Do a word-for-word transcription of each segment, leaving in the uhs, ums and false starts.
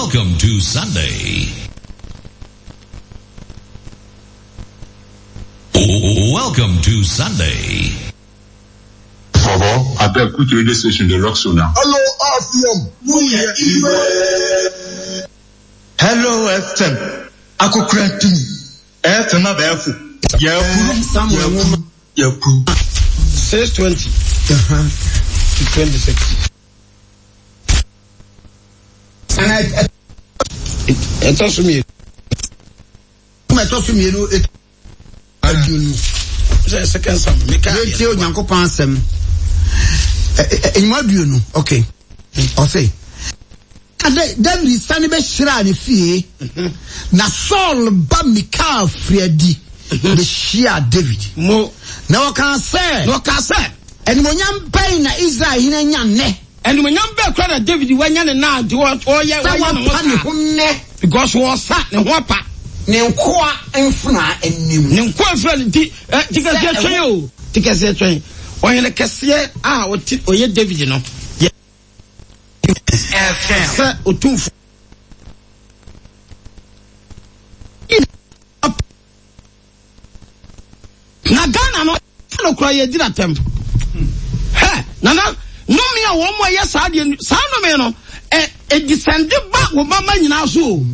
Welcome to Sunday. Welcome to Sunday. Bobo, I beg which radio station dey rock so now? Hello R F M. Hello F M. Akokora tumi. F M abɛɛfo. Yɛkuru. Samuel. Yɛkuru. Six twenty. Uh-huh. To twenty-six. Ɛtɔ so mmienu. Ɛtɔ so mmienu. Aduonu. Sɛ second Sam. Meka. Yɛntie Onyankopɔn asɛm. Enyima aduonu. Okay. Ɔse. David sane bɛhyiraa ne fie. Na Saul ba Mikal firi adi bɛhyiaa David. Mo. Na ɔkaa sɛ. Na ɔkaa sɛ. Animuonyam bɛn na Israel hene anya nnɛ? Animuonyam bɛn kora na David wanya ne nan nti ɔyɛ ɔyɛ ne ho saa. Ne ho nnɛ. Because wɔsa ne ho apa. Ne nkoa mfena anim. Ne nkoa mfena ne ti ɛ ti kɛseɛ twɛn o ti kɛseɛ twɛn. Ɔhene kɛseɛ a ɔte ɔyɛ David no. Yɛ sɛ otumfo. Na Ghana no no kora yɛ gyina tɛm. Hɛ nana nnome a wɔn a ɛyɛ saa deɛ saa nnome no ɛ edisɛnde ba wɔ mama nyinaa so o.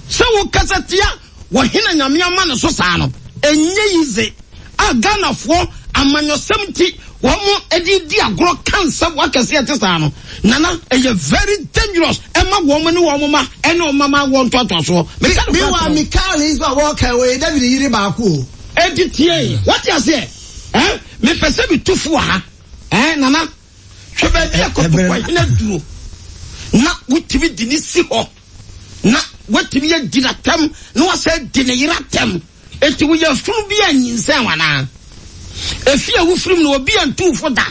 Sɛ wo kasa tia wɔ hena Nyame ama ne so saa no ɛnyɛ yize a Ghanafoɔ amanyɔsɛm ti wɔn mo ɛde di agorɔ ka nsɛm wakɛse ɛte saa no nana ɛyɛ very dangerous ɛma wɔn ne wɔn ma ɛne wɔn mama wɔn ntoatoasoɔ. Mewa Mikal nso a wɔka wɔ David yere baako o. Eti tie wɔte aseɛ ɛn mepɛ sɛ metu fo wɔ ha ɛn nana hwɛ baabi a kɔtɔkɔ hene duro na wotumi di ne si hɔ na wotumi adi n'atɛm na wasɛ di ne yere atɛm eti woyɛ funu bi a nyinsɛn wanaa efi a wofirim no obi a ntu fo da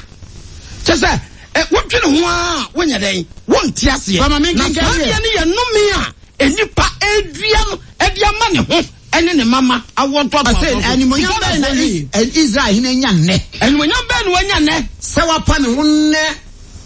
kyɛ sɛ ɛ wodwene ho a wonyɛ dɛn wonte aseɛ na saa deɛ no yɛ nnome a enipa edua no ɛde ama ne ho ɛne ne mama awɔ ntoatoasoɔ. Animuonyam bɛn na Israel hene anya nnɛ? Animuonyam bɛn na wanya nnɛ? Sɛ wapa ne ho nnɛ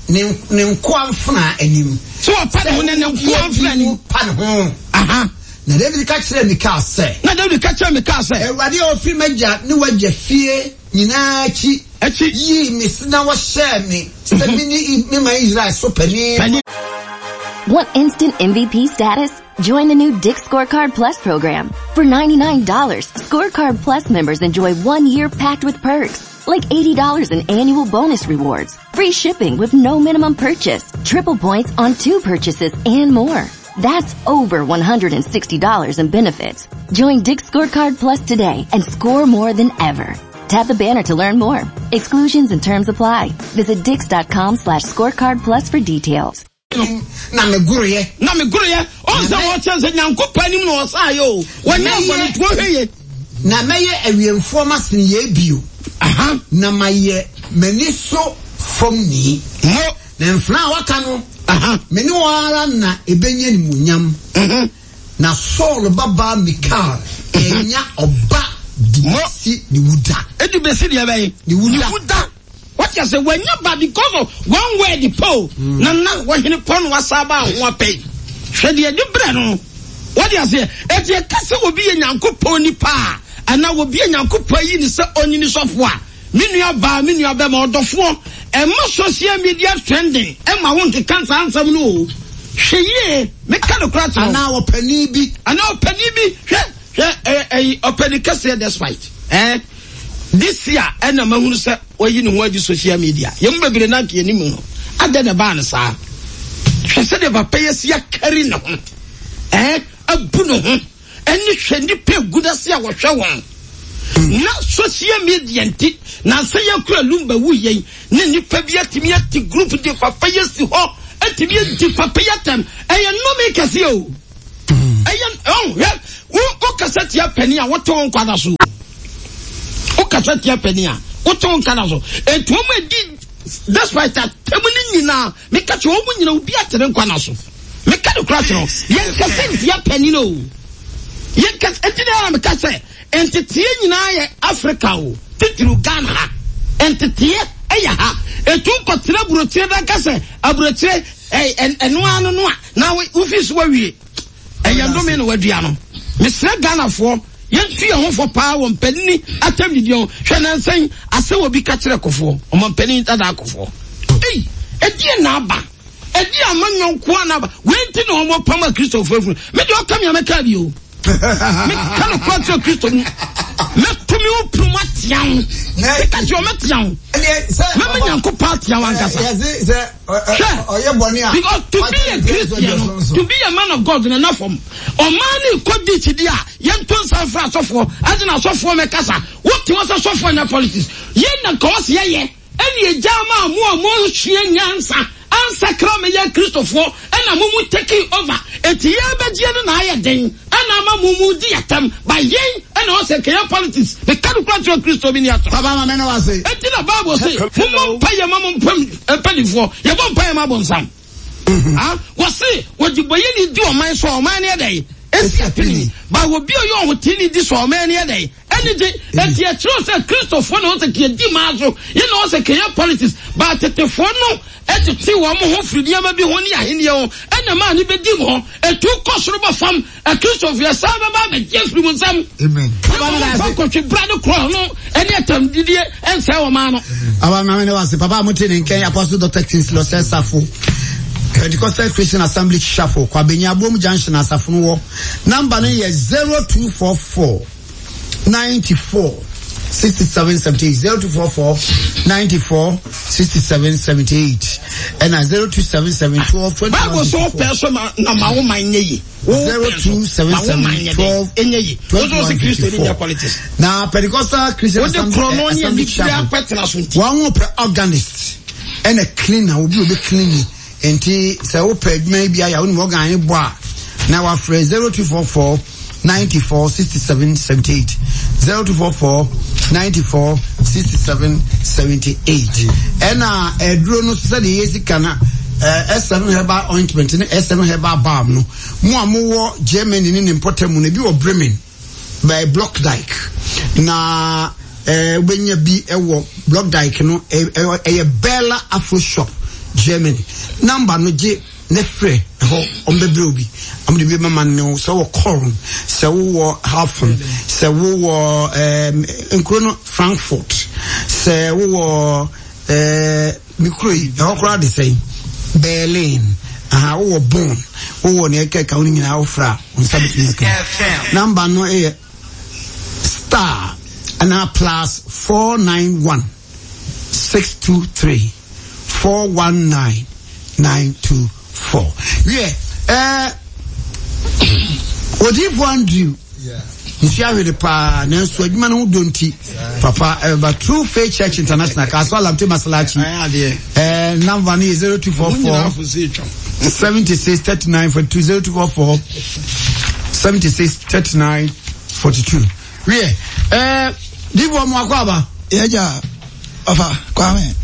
ne ne nkoa mfena anim. Sɛ wapa ne ho nnɛ ne nkoa mfena anim. Pa ne ho. Aha. Na David ka kyerɛɛ Mikal sɛ. Na David ka kyerɛɛ Mikal sɛ. Awurade a ɔfiri m'agya ne w'agya fie nyinaa akyi. Akyi. Yii me na wɔhyɛɛ me sɛ me ne me man Israel so panin. Want instant M V P status? Join the new Dick's Scorecard Plus program. For ninety-nine dollars, Scorecard Plus members enjoy one year packed with perks, like eighty dollars in annual bonus rewards, free shipping with no minimum purchase, triple points on two purchases, and more. That's over one hundred sixty dollars in benefits. Join Dick's Scorecard Plus today and score more than ever. Tap the banner to learn more. Exclusions and terms apply. Visit dicks.com slash scorecard plus for details. Na me guruye. Na me guruye. Onse wo chense Nyankopɔn anim na osa yo. Wanya bɔne to hweye. Na meye awiemfo masen ye bio. Aha. Na maye mani so fam ni. Mo na mfra waka no. Aha. Me ne wara na ebenye ni munyam. Mhm. Na Saul baba Mikal enya oba di ni wuda. Edu besi de be. Ni wuda. Ni wuda. What you say when you ba because of one word po mm. na na wo hene pon wasaba ho apɛ. Hwɛ de de brɛ no. What you say? E ti ka se obi ye Nyankopɔn nipa ana obi ye Nyankopɔn yi ni se oni ni sɔfo a. Me nua ba me nua be ma ɔdɔfo e ma social media trending e ma wo nkeka nsam no o. Hwɛ ye me ka no kra kyerɛ. Ana ɔpani bi. Ana ɔpani bi. Hwɛ hwɛ eh eh ɔpani kɛse despite. Eh this year ena mahunu sɛ oyi ne ho adi social media. Yem bebre na nka anim no. Ada na ba na saa. Hwɛ sɛ de papa yesi akari ne ho. Eh abu ne ho. Eni hwɛ nipa egu na se a wɔhwɛ wɔn. Na social media nti na sɛ yɛkura lumba wu yɛn ne nipa bi atimi ati group de papa yesi hɔ atimi adi papa yatam. Ɛyɛ nnome kɛse o. Ɛyɛ oh hwɛ wo wo kasa tia pani a wote wo nkwada so. Wo kasa tia pani a wote wo nkwada so. Etu mo adi despite that temu ni nyina me ka che wo nyina obi atere nkwana so. Me ka de kura kyerɛ yɛn kasa tia pani no. Yɛn kasa enti na me ka sɛ entetie nyina yɛ Africa o titiri Ghana ha. Entetie ɛyɛ ha. Etu nkɔtena burokyire da ka sɛ aburokyire Ɛno ano no a na wofi so wawie ɛyɛ ndome na wadua no. Mesrɛ Ghanafoɔ, yɛntu yɛn ho fo paa wɔ mpanini atam didi ho. Hwɛ nansɛn asɛ wɔ bi ka kyerɛ Kɔfoɔ, ɔmampanin dada Akɔfoɔ. Ei, ɛdeɛ na aba, ɛdeɛ ama nyɔnkoa na aba. Wei nti na wɔn apam a Kristofoɔ afunu. Me deɛ ɔka mi a mɛka bi o. Meka no kora kyerɛ Kristo mu. Mɛto me wo punu mu atea wo. Meka kyerɛ mɛtea wo. Mɛma Nyankopɔn atea wo ankasa. Hwɛ, because to be a Christian, to be a man of God na na fam. Ɔman ne kɔ di kyidi a yɛnto nsa mfra asɔfoɔ, ɛde na asɔfoɔ mɛkasa. Wote wɔ sɛ sɔfoɔ nyɛ politics. Yɛn na nka wɔsi yɛyɛ. Ɛne egya ama mo a mo nsua nyansa ansakra meyɛ Kristofoɔ, ɛna mo mu take over. Eti yɛn bɛgyeɛ no na ayɛ den, ɛna ama mo mu di atam. Ba yɛn ɛna ɔsɛ kɛyɛ politics. Meka no kura kyerɛ Kristo bi ni ato. Papa ma mene wase. Eti na Bible se, mo mo mpa yɛ ma mo mpanifoɔ, yɛbɔ mpa yɛ ma bonsam. Ah, wɔse wɔde bɔyɛ ni di ɔman so, ɔman ne ɛdɛ esi apini. Ba obi a ɔyɛ ɔhoteni ni di so, ɔman ne ɛdɛ ɛne gye. Eti ɛkyerɛ sɛ Kristofoɔ na ɔsɛ kɛyɛ di maa so, yɛn na ɔsɛ kɛyɛ politics. Ba tetefoɔ no ɛtete wɔn ho firi nneɛma bi ho ne ahenni ho, ɛna maa ne bɛdi mu hɔ. Etu kɔ soro bɔ fam, Akristofoɔ yɛ saa bɛba abɛgye afiri mu nsam. Amen. Papa kɔtwe bra ne korɔ no ɛne atam didie ɛnsɛ wɔn maa no. Aba maame ne wase papa mo te ne nkɛn Apostle Doctor Kingsley Osei Safo, Pentecostal Christian Assembly Chapel, Kwabenya Abom Junction asafo no wɔ. Number no yɛ zero two four four ninety four sixty seven seventy eight, zero two four four ninety four sixty seven seventy eight, ɛna zero two seven seven twelve twenty one. Bible so pɛ so ma na ma wo man nye yi. zero two seven seven twelve twenty one fifty four. Na Pentecostal Christian Assembly Assembly Chapel, wɔn ho pɛ organist ɛna cleaner, obi obi cleaning. Nti sɛ wopɛ adwuma bi ayɛ a wonim organ ne bɔ a na wafrɛ zero two four four ninety four sixty seven seventy eight, zero two four four ninety four sixty seven seventy eight. Ɛna ɛduro no sɛdeɛ yɛsi ka na S seven herbal ointment ne S seven herbal balm no, mo a mowɔ Germany ne ne mpɔtam mu no, ebi wɔ Bremen by Block Dyke, na wobɛnya bi wɔ Block Dyke no, ɛyɛ Bella Afro Shop Germany. Number no gye ne frɛ ɛhɔ, ɔmbɛbrɛ obi, ɔmo de bi mama ne wo. Sɛ wɔ Kɔrn, sɛ wowɔ Hafen, sɛ wowɔ ɛɛm nkuro no Frankfurt, sɛ wowɔ ɛɛ mikuro yi ɛhɔ koraa de sɛn Berlin, aha wowɔ Bonn, wowɔ nea ɛkeka wo no nyinaa, wofra wo nsa bɛtumi aka. Number no yɛ star anaa plus four nine one six two three four one nine nine two four. Wiɛ, ɛɛ Odiyifoɔ Andrew nsu ahwere paa, nanso adwuma no ho dɔ nti papa ɛbɛba True Faith Church International, Kasoa Lamte Masalachi. Ɛɛ number no yɛ zero two four four seventy six thirty nine forty two, zero two four four seventy six thirty nine forty two. Wiɛ, ɛɛ diifoɔ mu akɔ aba. Yɛgya ɔfa Kwame.